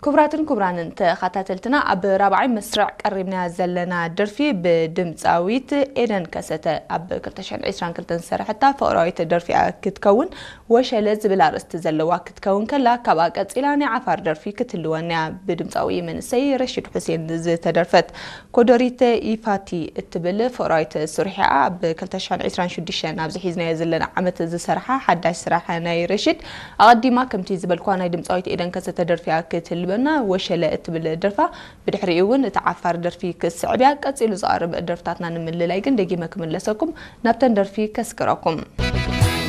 ክቡራትን ክቡራንን ተኸታተልትና፣ ኣብ ራብዓይ መስርዕ ቀሪብናያ ዘለና ደርፊ ብድምፃዊት ኤደን ከሰተ ኣብ ክልተ ሽሕን ዕስራን ክልተን ዝሰረሐታ ፍቕራዊት ደርፊ ክትከውን፣ ወሸለ ዝብል ኣርእስቲ ዘለዋ ክትከውን ከላ፣ ካብኣ ቀፂላ ናይ ዓፋር ደርፊ ክትህልወና እያ፣ ብድምፃዊ መንእሰይ ረሺድ ሑሴን ዝተደርፈት። ኮዶሪተ ኢፋቲ እትብል ፍቕራዊት ስርሒኣ ኣብ ክልተ ሽሕን ዕስራን ሽዱሽተን ኣብዚ ሒዝናዮ ዘለና ዓመት ዝሰርሓ ሓዳሽ ስራሕ ናይ ረሺድ፣ ኣቐዲማ ከምቲ ዝበልኳ ናይ ድምፃዊት ኤደን ከሰተ ደርፊ እያ ክትህልወና። ወሸለ እትብል ደርፋ፣ ብድሕሪኡ እውን እቲ ዓፋር ደርፊ ክስዕብ እያ። ቀፂሉ ዝቐርብ ደርፍታትና ንምልላይ ግን ደጊመ ክምለሰኩም፣ ናብተን ደርፊ ከስክረኩም።